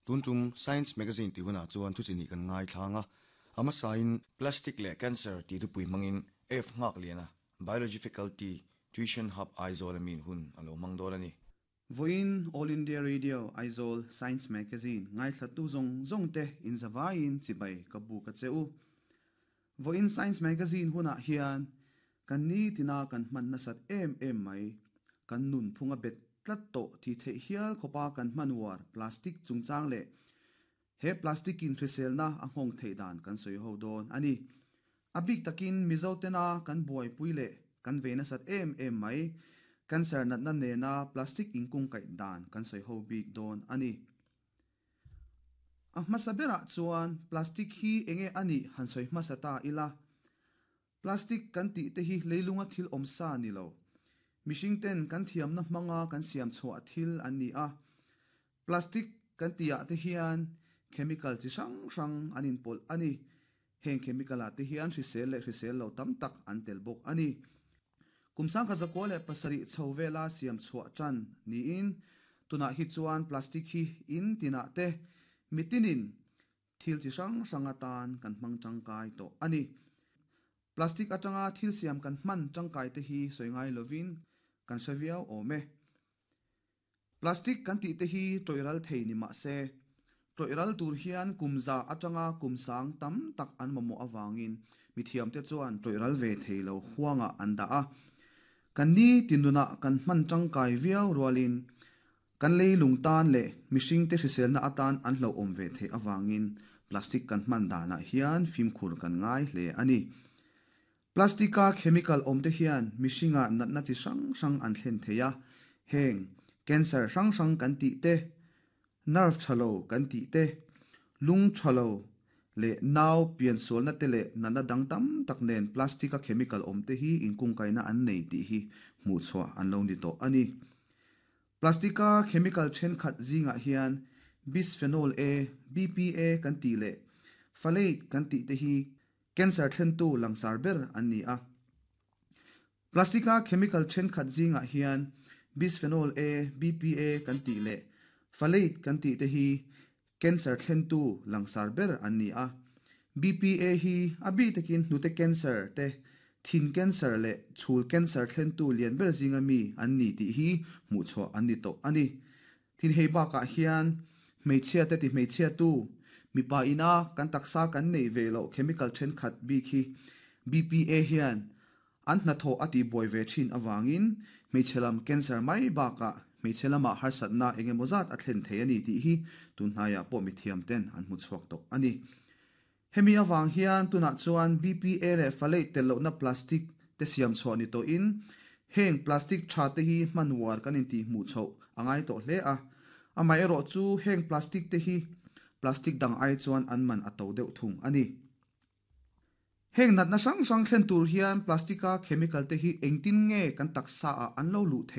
Tun tum Science Magazine tih hunah chuan thu chi nih kan ngaithlang a, a hmasain Plastic leh Cancer tih thupui hmangin F Nghakliana, Biology Faculty, Tuition Hub Aizawl a min hun a lo hmang dawn a ni. Vawiin All India Radio Aizawl Science Magazine ngaithlattu zawng zawng te inzavaiin chibai ka buk a che u. Vawiin Science Magazine hunah hian kan nitina kan hman nasat em em mai, kan nunphung a bet tlat tawh tih theih hial khawpa kan hman uar plastic chungchang leh he plastic in hriselna a nghawng theih dan kan sawi ho dawn a ni. A bik takin Mizo tena kan buaipui leh kan vei nasat em em mai, cancer natna nena plastic inkungkaih dan kan sawi ho bik dawn a ni. A hmasa berah chuan plastic hi enge a nih han sawi hmasa ta ila. Plastic kan tih te hi leilunga thil awm sa ni lo. Mihring ten kan thiamna hmanga kan siam chhuah thil an ni a. Plastic kan tih ah te hian chemical chi hrang hrang an inpawlh a ni. Heng chemical ah te hian hrisel leh hrisel lo tam tak an tel bawk a ni. Kum 1907 chho vela siam chhuah tan niin tunah hi chuan plastic hi in tinah te mitinin thil chi hrang hrang atan kan hmang tangkai tawh a ni. Plastic atanga thil siam kan hman tangkai te hi sawi ngai lovin kan hre viau awm e. Plastic kan tih te hi tawih ral thei ni mah se, tawih ral tur hian kum za atanga kum sang tam tak an mamawh avangin mithiamte chuan tawih ral ve thei lo huangah an dah a. Kan ni tinunah kan hman tangkai viau rualin kan leilung tan leh mihringte hriselna atan an hlauhawm ve theih avangin plastic kan hman danah hian fimkhur kan ngai hle a ni. Plastic-a chemical awmte hian mihringah natna chi hrang hrang an thlen thei a, heng cancer hrang hrang kan tih te, nerve tha lo kan tih te, lung tha lo leh nau piansualna te leh natna dang tam tak nen plastic-a chemical awmte hi inkungkaina an nei tih hi hmuhchhuah an lo ni tawh a ni. Plastic-a chemical thenkhat zingah hian bisphenol A, BPA, kan tih leh phthalate kan tih te hi Cancer thlentu langsar ber an ni a. Plastic-a chemical thenkhat zingah hian bisphenol A, BPA kan tih leh phthalate kan tih te hi cancer thlentu langsar ber an ni a. BPA hi a bik takin hnute cancer te, thin cancer leh chhul cancer thlentu lian ber zinga mi an ni tih hi hmuhchhuah an ni tawh a ni. Thin hei bakah hian hmeichhia te ti hmeichhia tu, mipa ina kan taksa kan neih ve loh chemical thenkhat bik hi BPA hian an hnathawh a tihbuai ve thin avangin hmeichhe lam cancer mai bakah hmeichhe lamah harsatna eng emaw zat a thlen thei a ni tih hi tunhnaiah pawh mithiam ten an hmu chhuak tawh a ni. Hemi avang hian tunah chuan BPA leh phthalate tel lohna plastic te siam chhuah ni tawhin heng plastic tha te hi hman uar kan intih hmuh chhoh a ngai tawh hle a. Amaherawh chu heng plastic te hi plastic dang ai chuan an man a to deuh thung a ni. Heng natna hrang hrang thlen tur hian plastic-a chemical te hi engtin nge kan taksa ah an lo luh theih?